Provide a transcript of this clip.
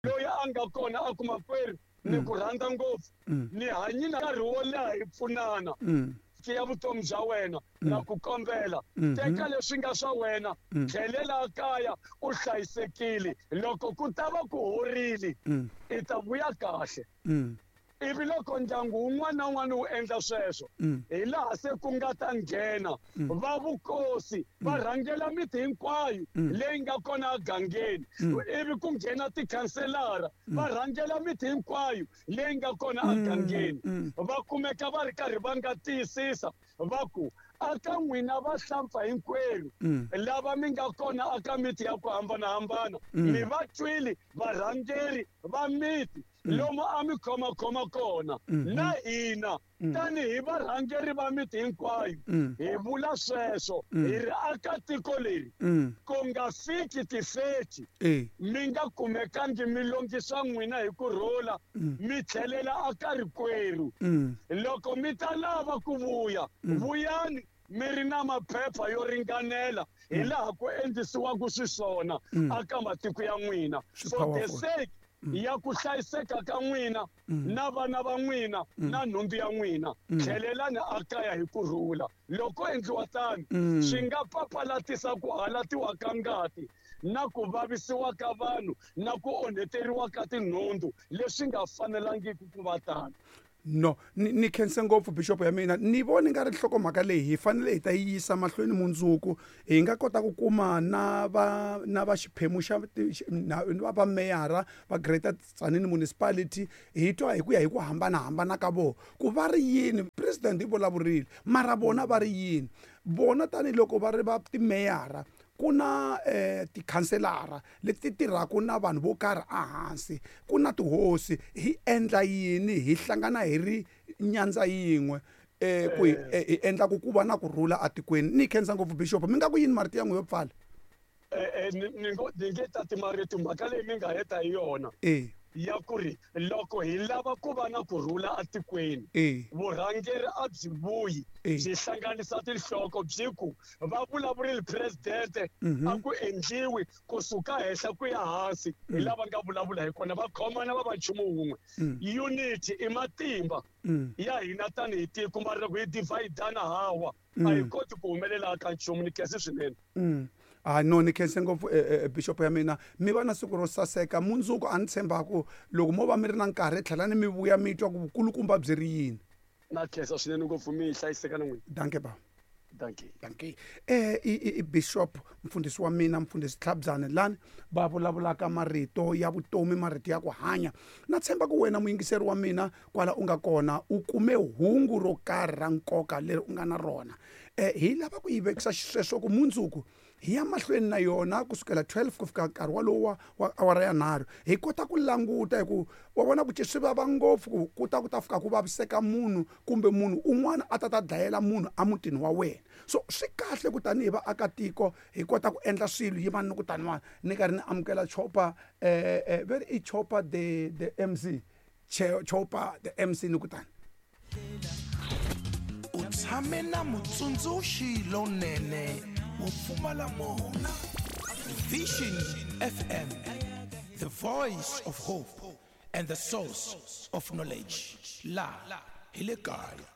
Loyi a nga kona a ku, Makwerhu, ni ku rhandza ngopfu, ni hanyi na nkarhi wo leha hi pfunana. Ya vutomi bya wena, na ku kombela, teka leswi nga swa wena, tlhelela kaya u hlayisekile. Loko ku ta va ku horile, i ta vuya kahle. Ivi loko ndyangu wun'wana na wun'wana wu endla sweswo, hi laha se ku nga ta nghena va vukosi, va rhangela miti hinkwayo leyi nga kona egangeni. Ivi ku nghena tikhanselara, va rhangela miti hinkwayo leyi nga kona egangeni. Va kumeka va ri karhi va nga tiyisisa va ku, aka n'wina vahlampfa hinkwerhu lava mi nga kona aka miti ya ku hambanahambana, mi va twile varhangeri va miti lomu a mi khomakhoma kona, na hina tanihi varhangeri va miti hinkwayo hi vula sweswo, hi ri aka tiko leri ku nga fiki tifeti mi nga kumekangi mi longisa n'wina hi ku rhula, mi tlhelela aka rikwerhu. Loko mi ta lava ku vuya, vuyani mi ri na maphepha yo ringanela hi laha ku endlisiwaka xiswona aka matiko ya n'wina, for the sake ya ku hlayiseka ka n'wina na vana va n'wina na nhundzu ya n'wina. Tlhelelani akaya hi ku rhula. Loko endliwa tano, swi nga papalatisa ku halatiwa ka ngati na ku vavisiwa ka vanhu na ku onheteriwa ka tinhundzu leswi nga fanelangiki ku va tano. No, ni khense ngopfu bishop ya mina. Ni vona nga ri nhlokomhaka leyi hi fanele hi ta yi yisa mahlweni mundzuku, hi nga kota ku kuma na va na va xiphemu xa na va meyara va Greater Tzaneen Municipality, hi twa hi ku ya hi ku hambanahambana ka vona ku va ri yini. President yi vulavurile, mara vona va ri yini? Vona tanihiloko va ri va timeyara, ku na tikhanselara leti tirhaka na vanhu vo karhi ehansi, ku na tihosi. Hi endla yini? Hi hlangana hi ri nyandza yin'we ku hi endla ku va na kurhula atikweni. Ni khensa ngopfu bishop. Mi nga ku yini marito ya n'wi yo pfala? Ni nge tati marito, mhaka leyi mi nga heta hi yona ya ku ri loko hi lava ku va na kurhula atikweni, vurhangeri a byi vuyi byi hlanganisa tinhloko, byi ku va vulavurile president, a ku endliwi kusuka henhla ku ya hansi, hi lava nga vulavula hi kona, va khomana va va nchumu wun'we. Unity i matimba ya hina tanihi tiko, mara loko hi dividana hawa a hi koti ku humelela ka nchumu. Ni khense swinene. Ah no, ni khense ngopfu bishop ya mina. Mi va na siku ro saseka mundzuku. A ni tshembaku loko mo va mi ri na nkarhi, tlhelani mi vuya mi twa ku vukulukumba byi ri yini. Na khensa swinene ngopfu, mi hlayiseka na n'wina. Danke ba. Danke. Danke. I bishop mfundhisi wa mina, mfundhisi Tlhabyane, lani va vulavulaka marito ya vutomi, marito ya ku hanya. Na tshemba ku wena muyingiseri wa mina kwala u nga kona u kume hungu ro karhi ra nkoka leri u nga na rona. Hi lava ku yi vekisa xisweswo ku mundzuku hi ya mahlweni na yona kusukela 12 ku fika nkarhi walowu wa awara ya 3, hi kota ku languta hi ku wa vona ku swi vava ngopfu ku ku ta ku ta fika ku vaviseka munhu kumbe munhu un'wana a ta ta dlayela munhu emutini wa wena. So swi kahle ku tanihi vaakatiko hi kota ku endla swilo yimani ni ku taniwani ni karhi ni amukela Chopa, veri i Chopa the MC, Chopa the MC ni ku tani. U tshame na mutsundzuxi lonene wo pfumala mona. Vision FM, the voice of hope and the source of knowledge. La hi le kaya.